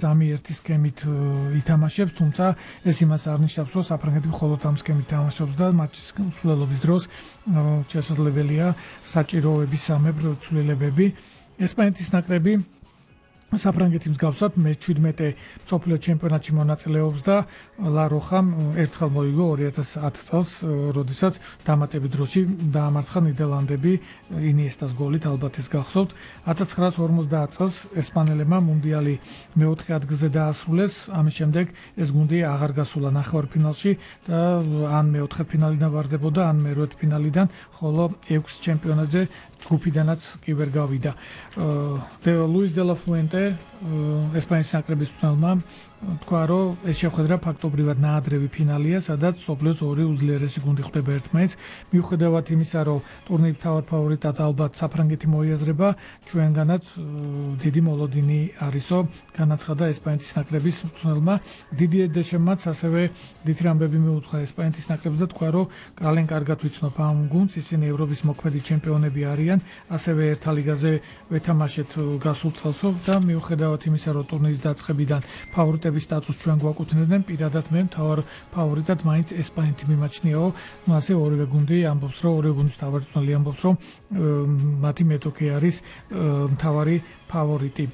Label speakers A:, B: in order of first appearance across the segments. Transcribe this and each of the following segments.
A: ზამიერთის სქემით ითამაშებს, თუმცა ეს იმას არ ნიშნავს, რომ საფრანგეთი მხოლოდ ამ სქემით თამაშობს და მატჩის მსვლელობის დროს შესაძლებელია საჭიროების სამებრ ცვლილებები. ესპანეთის ნაკრები საფრანგეთის მსგავსად მე-17 მსოფლიო ჩემპიონატში მონაწილეობს და ლა როხამ ერთხელ მოიგო 2010 წელს, როდესაც დამატებით დროში დაამარცხა ნიდერლანდები ინიესტას გოლით, ალბათ ეს გახსოვთ. 1950 წელს ესპანელებმა მუნდიალი მეოთხე ადგილზე დაასრულეს, ამის შემდეგ ეს გუნდი აღარ გასულა ნახევარფინალში და ან მეოთხედფინალიდან ვარდებოდა, ან მერვედფინალიდან, ხოლო 6 ჩემპიონატზე ჯგუფიდანაც კი ვერ გავიდა. ლუის დე ლა ფუენტე ესპანეთის ნაკრების მწვრთნელმა თქვა, რომ ეს შეხვედრა ფაქტობრივად ნაადრევი ფინალია, სადაც მსოფლიოს ორი უძლიერესი გუნდი ხვდება ერთმანეთს. მიუხედავად იმისა, რომ ტურნირის მთავარ ფავორიტად ალბათ საფრანგეთი მოიაზრება, ჩვენგანაც დიდი მოლოდინი არისო, განაცხადა ესპანეთის ნაკრების მწვრთნელმა. დიდიე დეშემაც ასევე დიდ რამბები მიუძღვა ესპანეთის ნაკრებს და თქვა, რომ კალენ კარგად ვიცნობ ამ გუნდს, ისინი ევროპის მოქმედი ჩემპიონები არიან, ასევე ერთა ლიგაზე ვეთამაშეთ გასულ წელსო და მიუხედავად იმისა, რომ ტურნირის დაწყებიდან ფავორიტების სტატუსს ჩვენ გვაკუთვნებდნენ, პირადად მე მთავარ ფავორიტად მაინც ესპანეთი მიმაჩნიაო. ასე ორივე გუნდი ამბობს, რომ ორივე გუნდის მთავარი მწვრთნელი ამბობს, რომ მათი მეტოქი არის მთავარი ფავორიტი.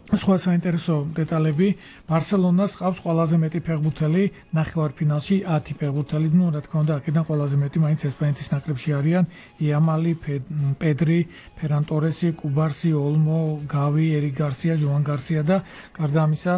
A: სხვა საინტერესო დეტალები, ბარსელონას ყავს ყველაზე მეტი ფეხბურთელი ნახევარფინალში 10 ფეხბურთელი, რა თქმა უნდა, აქედან ყველაზე მეტი მაინც ესპანეთის ნაკრებში არიან იამალი, პედრი, ფერან ტორესი, კუბარსი, ოლმო, გავი, ერიკ გარსია, ჟოან გარსია და გარდა ამისა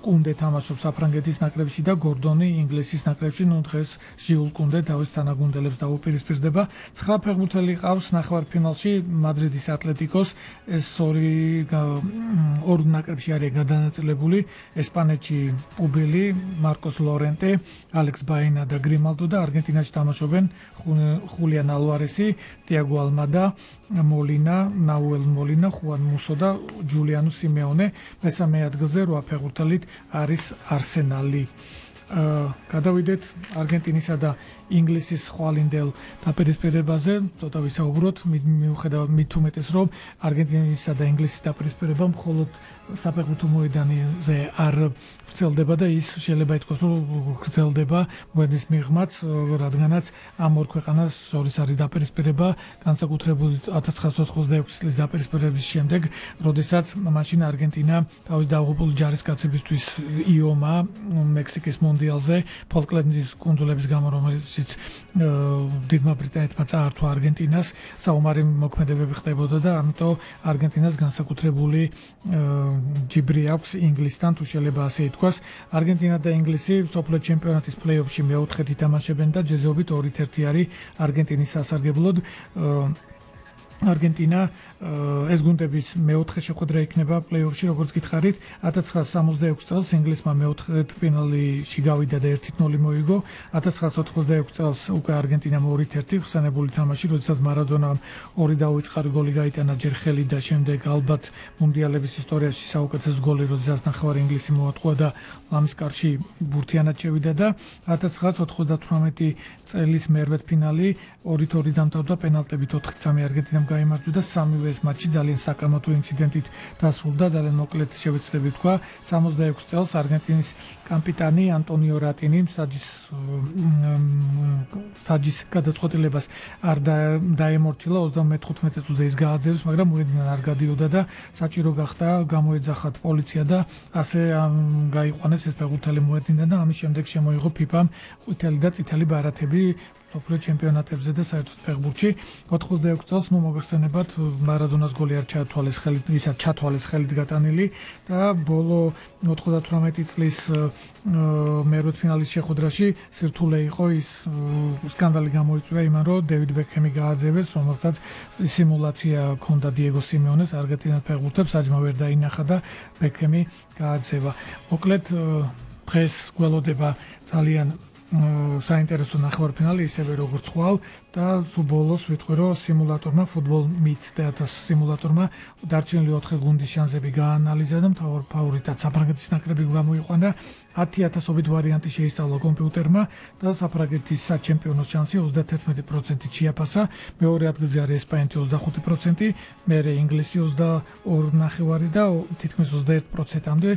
A: კუნდე თამაშობს საფრანგეთის ნაკრებში და გორდონი ინგლისის ნაკრებში, დღეს ჟიულ კუნდე თავის თანაგუნდელებს დაუპირისპირდება. 9 ფეხბურთელი ყავს ნახევარფინალში მადრიდის ატლეტიკოს, ეს ორ ნაკრებში არის გადანაწილებული ესპანეთში პუბილი, მარკოს ლორენტე, ალექს ბაინა და გრიმალდო და არგენტინაში თამაშობენ ხულიან ალვარესი, ტიაგო ალმადა, მოლინა, ნაუელ მოლინა, ხუან მუსო და ჯულიანო სიმეონე. მესამე ადგილზე 8 ფეხბურთელით არის არსენალი. გადავიდეთ არგენტინისა და ინგლისის ხვალინდელ დაპირისპირებაზე, ცოტა ვისაუბროთ, მიუხედავად მით უმეტეს, რომ არგენტინისა და ინგლისის დაპირისპირება მხოლოდ საფეხბურთო მოედანზე არ ვრცელდება და ის შეიძლება ითქვას, რომ ვრცელდება მოედნის მიღმაც, რადგანაც ამ ორ ქვეყანას შორის არის დაპირისპირება, განსაკუთრებული 1986 წლის დაპირისპირების შემდეგ, როდესაც მაშინ არგენტინა თავის დაღუპული ჯარისკაცებისთვის იომა მექსიკის მონდიალზე ფოლკლენდის კუნძულების გამო, რომელიც დიდმა ბრიტანეთმა წაართვა არგენტინას, საომარი მოქმედებები ხდებოდა და ამიტომ არგენტინას განსაკუთრებული ჯიბრი აქვს ინგლისთან, თუ შეიძლება ასე ითქვას. არგენტინა და ინგლისი მსოფლიო ჩემპიონატის პლეი-ოფში მეოთხედ ითამაშებენ და ჯეზობით 2-1 არის არგენტინის სასარგებლოდ. არგენტინა ეს გუნდების მეოთხე შეხვედრა იქნება პლეი-ოფში, როგორც გითხარით. 1966 წელს ინგლისმა მეოთხედფინალში გავიდა და 1-0 მოიგო. 1986 წელს უკვე არგენტინამ 2-1 ხსენებული თამაში, როდესაც მარადონამ 2 დაუწყარი გოლი გაიტანა ჯერ ხელი და შემდეგ ალბათ მუნდიალების ისტორიაში საუკეთესო გოლი, როდესაც ნახევარი ინგლისი მოატყუა და ლამის კარში ბურთიანად შევიდა და 1998 წელის მერვედფინალი 2-2 დამთავრდა პენალტებით 4-3 არგენტინამ გაიმარჯვა და სამივე ეს მატჩი ძალიან საკამათო ინციდენტით დასრულდა, ძალიან მოკლედ შევეცდები თქვა. 66 წელს არგენტინის კაპიტანი ანტონიო რატინი საჯის გადაწყვეტილებას არ დაემორჩილა, 35 წუთზე ის გააძევს, მაგრამ მოედნიდან არ გადიოდა და საჭირო გახდა გამოეძახათ პოლიცია და ასე გაიყვანეს ეს ფეხბურთელი მოედნიდან და ამის შემდეგ შემოიღო ფიფამ ყვითელი და წითელი ბარათები მსოფლიო ჩემპიონატებზე და საერთოდ ფეხბურთში. 86 წელს მოგახსენებათ მარადონას გოლი არ ჩაათვალეს ხელით, ისაც ჩათვალეს ხელით გატანილი და ბოლო 98 წლის მერვედფინალის შეხვედრაში სირთულე იყო ის სკანდალი გამოიწვია იმან, რომ დევიდ ბეკჰემი გააძევეს, რომელსაც სიმულაცია ჰქონდა დიეგო სიმეონეს არგენტინის ფეხბურთელს, საჯმა ვერ დაინახა და ბეკჰემი გააძევა. მოკლედ დღეს გველოდება ძალიან საინტერესო ნახევარფინალი ისევე როგორც ხვალ და სულ ბოლოს ვიტყვი რომ სიმულატორმა Football Meets Theatre სიმულატორმა დარჩენილი 4 გუნდის შანსები გაანალიზა და მთავარ ფავორიტად საფრანგეთის ნაკრები გამოიყვანა 10,000-ობით ვარიანტი შეისწავლა კომპიუტერმა და საფრანგეთის საჩემპიონო შანსი 31%-ით შეაფასა. მეორე ადგილზე არის ესპანეთი 25%, მერე ინგლისი 22.5 და თითქმის 21%-მდე